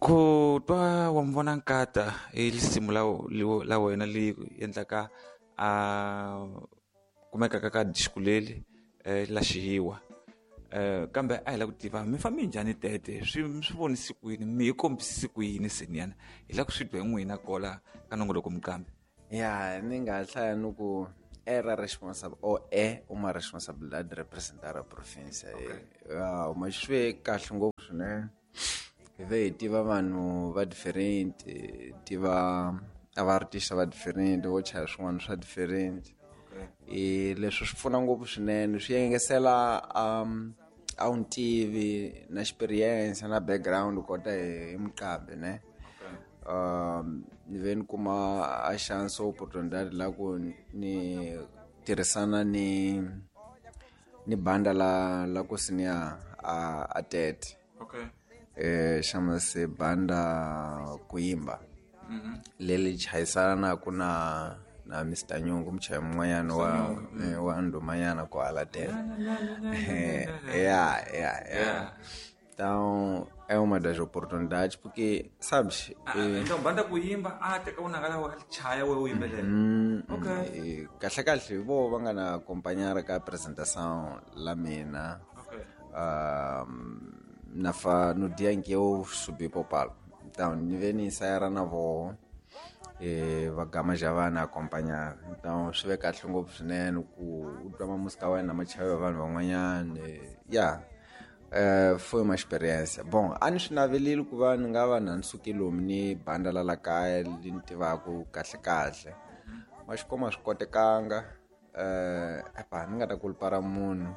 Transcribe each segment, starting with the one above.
Ku twa wa mi vona nkata i lisimu la wena li endlaka a kumekaka ka disco leli la xihiwa. Kambe a hi lava ku tiva mi fambe njhani tete, swi mi swi vonise ku yini, mi hi kombisise ku yini seniyana, hi lava ku swi twa hi n'wina kola ka nongoloko minqambi. Ya ni nga hlaya ni ku era responsável ou é uma responsabilidade de representar a província. Ya ma swi ve kahle ngopfu swinene, hi ve hi tiva vanhu va different, hi tiva a va artist va different vo chaya swin'wana swa different. E leswi swi pfuna ngopfu swinene, swi engesela a wu ntivi na experience na background u kota hi muqambi ne. Ni ve ni kuma a chance opportunidade la ku ni tirhisana ni banda la ku siniya a Tete. Xama se banda Kuimba. Leli chayisana ku na Mr Nyungu, muchayi mun'wanyana wa ndhumanyana kwala Tete. Ya, ya, ya. Então é uma das oportunidades porque, sabes, Então banda Kuimba a teka unanga la wa chaya we u yimbelela. Kahle kahle vo va nga na acompanhar ka apresentação la mina. Na fa no dia em que eu subi pro palco. Então ni ve ni ensaiar na voho, va gama já va na acompanhar. Então swi ve kahle ngopfu swinene ku u twa ma música wa wena ma chayiwa vanhu van'wanyana. Ya. Foi uma experiência. Bom, a ni swi navelile ku va ni nga va na ni suke lomu ni banda la la kaya li ni tivaku kahle kahle. Ma xi kuma swi kotekanga. Epa, ni nga ta kulpara munhu.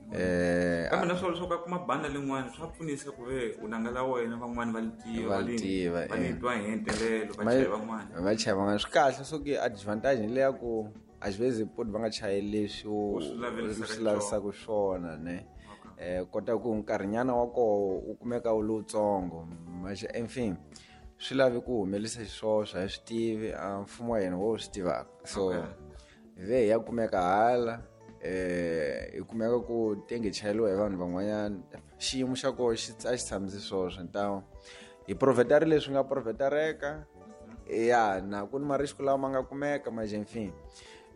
Kambe na swona leswaku a kuma banda lin'wana swa pfunisa ku ve u nanga la wena van'wani va li tiva, Va li tiva, va li twa hi ntelelo, va chaya van'wana. Va chaya van'wana. Swi kahle swo ki advantage hi leya ku às vezes pode va nga chayi leswi U swi lavelisaka u swi lavisaka swona, ne? Kota ku nkarhinyana wa koho u kumeka wu lowutsongo. Mas enfin swi lavi ku humelisa xiswoswo, a hi swi tivi, a mfumo wa hina wo swi tivaka. So hi ve hi ya kumeka hala, hi kumeka ku tenge chayeliwa hi vanhu van'wanyana. Xiyimo xa koho a xi tshamisi swoswo. Então hi profetari leswi nga profetareka. Ya, na ku ni marisco lawa ma nga kumeka, mas enfin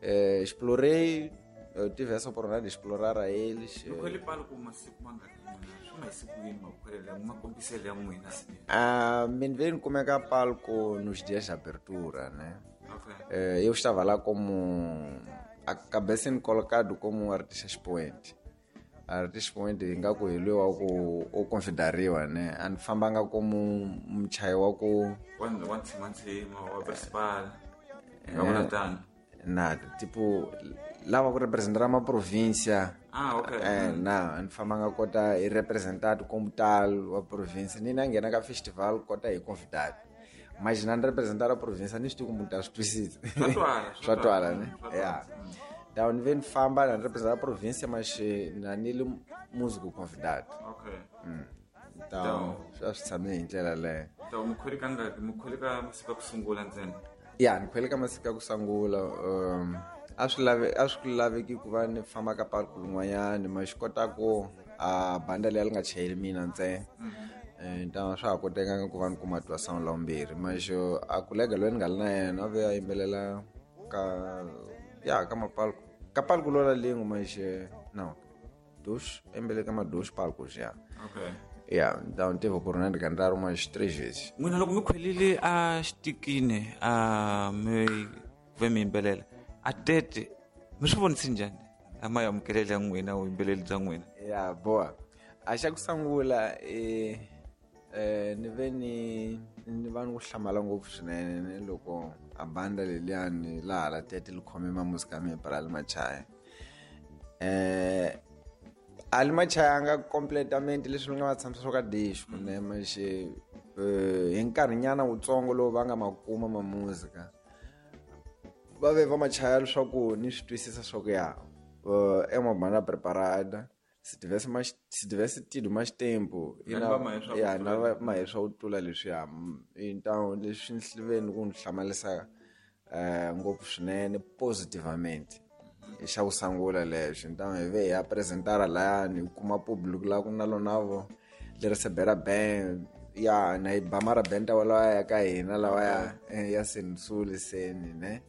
explorei, eu tive essa oportunidade de explorar a eles. Mi khwele palo ku masiku mangaki n'wina? Swi ma hi siku yini makhwelelo ya makombiselo ya n'wina? Mi ni ve ni kumeka palco nos dias de abertura, né? Eu estava lá como acabei sendo colocado como artista expoente. Artista expoente ingaku hi loyi wa ku u consideriwa, né? A ni fambanga como muchayi wa ku Wa ntshimantsima, wa principal. Nga vula tano. Na, tipo, lava ku representar uma província. Na, a ni fambanga kota hi representado como tal wa província. Ni na nghena ka festival kota hi convidado. Mas na ni representar a província, ni swi tivi ku munhu ta swi twisisa. Swa twala, swa Swa twala, twala. ne? Swa twala. Ya. Então, ni ve ni famba na ni representar a província, mas na ni li músico convidado. Então, swa swi tshame hi ndlela leyo. Então, mi khwele ka ngaki? Mi khwele ka masiku ya ku sungula ntsena? Ya, ni khwele ka masiku ya ku sungula. A swi lave, a swi laveki ku va ni famba ka park lin'wanyani, ma xi kota ku a banda leyi li nga chayeli mina ntsena. Então swa ha kotekanga ku va ni kuma twa sound la vumbirhi. Mas a kolega loyi ni nga li na yena a ve a yimbelela ka, ya, ka mapalco. Ka palco lola lin'we, mas não, dos, a yimbelela ka ma dos palcos, ya. Ya, então tive a oportunidade de cantar umas 3 vezes. N'wina loko mi khwelile a xitikini, a mi ve mi yimbelela, a Tete mi swi vonise njhani a ma amukelele ya n'wina vuyimbeleri bya n'wina? Ya, boa. A xa ku sungula, ni ve ni va ni ku hlamala ngopfu swinene ni loko a banda leliyani laha la Tete li khome ma música ya mina para li machaya. A li machayanga completamente leswi ni nga va tshamisa swo ka disco, ne, mas hi nkarhinyana wutsongo lowu va nga ma kuma ma música, va ve va machaya leswaku ni swi twisisa swa ku ya, é uma banda preparada. Se tivesse mais, se tivesse tido mais tempo, e Na na, va mahe swa ku ya, tlula na va mahe swa ku tlula leswiya. Então leswi ni ve ni ku ni hlamarisa, ngopfu swinene positivamente. I xa ku sungula lexo. Então hi ve hi ya apresentara layani, hi kuma público la ku na lona vo li recebera bem. Ya na yi ba marabenta walawa ya ka hina lawa ya ya sensuli seni ne.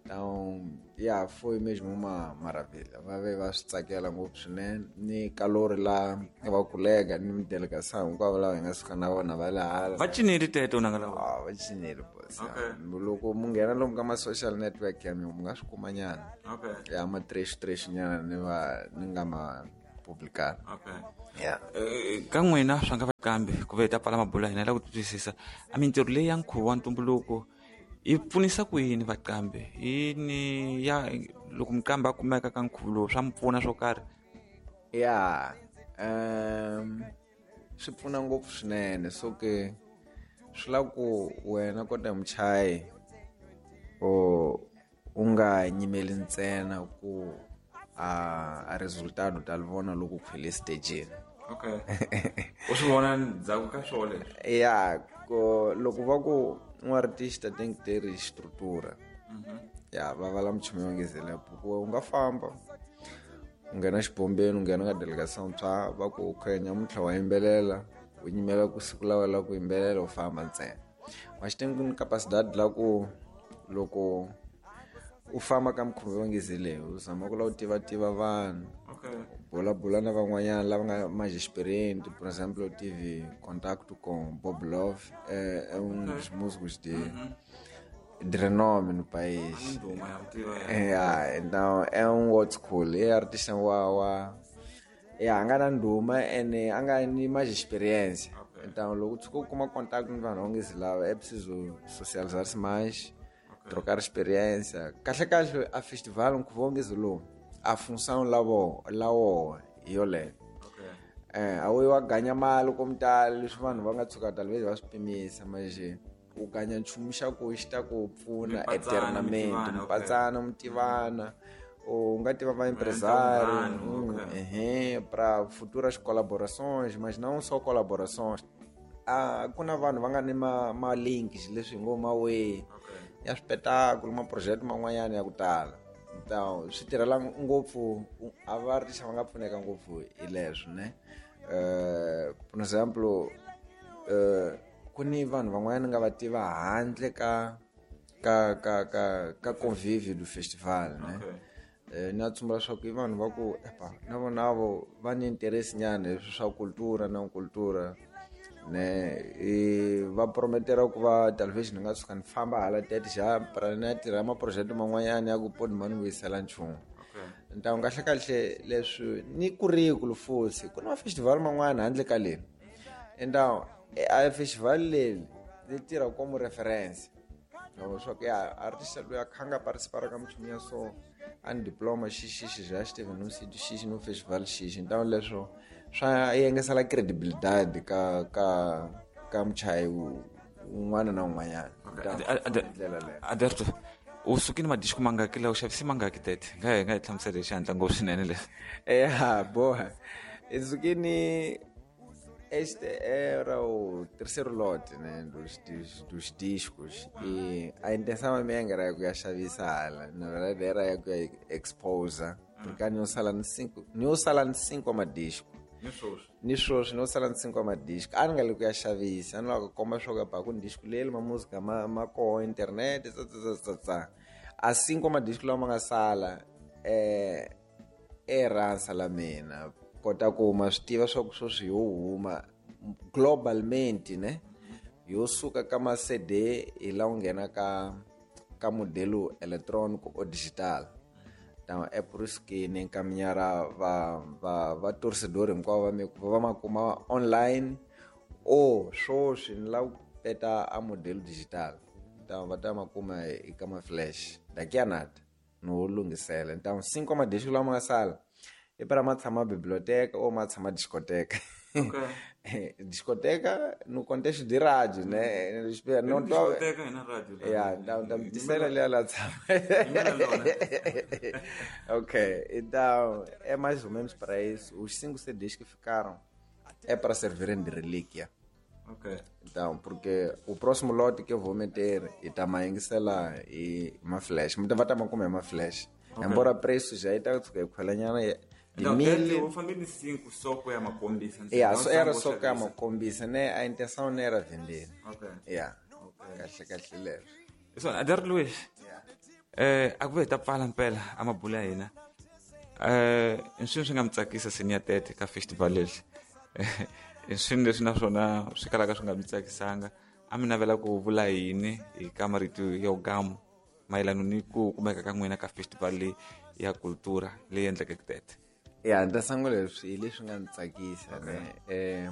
Então, ya foi mesmo uma maravilha. Va ve va swi tsakela ngopfu swinene ni kalori la va kolega ni delegação hinkwavo lava hi nga suka na vona va le hala. Va cineli teto nanga lawa. Ah, va cineli boss. Loko mu nghena lomu ka ma-social network ya mina mu nga swi kuma nyana. Okay. Ya ma trash trash nyana ni va ni nga ma publicar. Okay. Yeah. Ka n'wina swa nga va kambe ku ve hi ta pfala mabulo ya hina la ku twisisa a mintirho leyi ya nkhuvo wa ntumbuluko yi pfunisa ku yini vaqambi yini ya loko muqambi a kumeka ka nkhuvo lowu swa mi pfuna swo karhi? Ya, swi pfuna ngopfu swinene. So ke swi lava ku wena kota muchayi o u nga nyimeli ntsena ku a resultado ta li vona loko u khwele stageni. Okay. U swi vona ndzhaku ka swona leswi? Ya, ko loko va ku um artista tem que ter estrutura. Ya, va vala muchumu yo ngezela ku u nga famba u nghena xibombeni u nghena ka delegação tshwa va ku okay nyamuntlha wa yimbelela u nyimela ku siku la wena ku yimbelela u famba ntsena. Mas tem que capacidade la ku loko u famba ka mukhuva yo ngezele u zama ku lava u tiva vanhu. Okay. Bula na van'wanyana lava nga mais experiente, por exemplo, eu tive contato com Bob Love, é um dos músicos de renome no país. É, então é um old school, é artista wa é a nga na ndhuma ene a nga ni mais experiência. Okay. Então loko tshuka u kuma contato ni vanhu va lava é preciso socializar-se mais, trocar experiência. Kahle kahle a festival nkhuvo wa ngezi lowu a função lavo lawo hi yoleyo. Okay. A wu yi wa ganya mali ko mutala leswi vanhu va nga tshuka talvez va swi pimisa manje u ganya nchumu xa ku xi ta ku pfuna eternamente mipatsana mi tivana u nga tiva va empresário ehe para futuras colaborações, mas não só colaborações. Ah, ku na vanhu va nga ni ma links leswi hi ngo ma way ya swipetakulu ma project man'wanyana ya ku tala. Então swi tirhela ngopfu a va artista va nga pfuneka ngopfu hi leswo ne. Por exemplo, ku ni vanhu van'wanyana nga va tiva handle ka ka ka ka ka convívio do festival ne. Na tsumbula leswaku i vanhu va ku epa na vona vo va ni interesse nyana hi swa cultura na cultura ne i va prometera ku va talvez ni nga tshuka ni famba hala tete xa pra na tirha maproject man'wanyana ya ku poni ma ni vuyisela nchumu. Então kahle kahle leswi ni currículo futhi ku na festival man'wana handle ka leri. Então a festival leri ri tirha como referência. Swa ku ya artista loyi a kha nga participar ka minchumu ya so a ni diploma xixi já esteve num sítio X no festival X. Então leswo swa yengesela credibilidade ka ka ka muchayi un'wana na un'wanyana. Ndlela leyo. Alberto, u sukile madisco mangaki la u xavise mangaki tete? Nga hi nga hi hlamusela hi xihatla ngopfu swinene leswi. Ya boha. Sukini este era o terceiro lote, né, dos discos e a intenção minha era ku ya xavisa hala, na verdade era ya ku ya exposa, porque ni sala ni 5, ni sala ni 5 madisco. Ni swoswi no sala ni 5 madisco. A ni nga le ku ya xavisa, a ni lava ku komba swa ku ba ku ni disco leri ma música ma koho internet tsa. A 5 madisco lawa ma nga sala eransa la mina kota ku ma swi tiva swa ku sweswi yo huma globalmente ne yo suka ka ma CD hi la u nghena ka ka modelo eletrônico ou digital. Então é por isso que nem encaminhar va torcedor hinkwavo va mi va ma kuma online ou swoswi ni lava ku peta a modelo digital. Então va ta ma kuma eka ma flash daqui a nada no lunghisela. Então 5 madisco lama nga sala i para ma tshama biblioteca ou ma tshama discoteca. Okay. Discoteca no contexto de rádio, né? Não tô discoteca na rádio. Yeah, então disseram ali ela tshama. Ok, então é mais ou menos para isso. Os 5 CDs que ficaram é para servirem de relíquia. Ok. Então, porque o próximo lote que eu vou meter e também sei lá e uma flash. Muita vai também comer uma flash. Okay. Embora preço já está Timili u fambe ni 5 só ku ya makombisa ya so era só ku ya makombisa ne a intenção não era vender. Okay. Ya. Kahle kahle leswo. So Adar Luis, a ku ve hi ta pfala mpela a mabulu ya hina. I swini swi nga mi tsakisa senior tete ka festival leli? I swini leswi naswona swi kalaka swi nga mi tsakisanga? A mi navela ku vula yini hi ka marito yo gamu mayelana ni ku kumeka ka n'wina ka festival leyi ya cultura leyi endlekeke tete? Ya ni ta sungula leswi hi leswi nga ni tsakisa ne.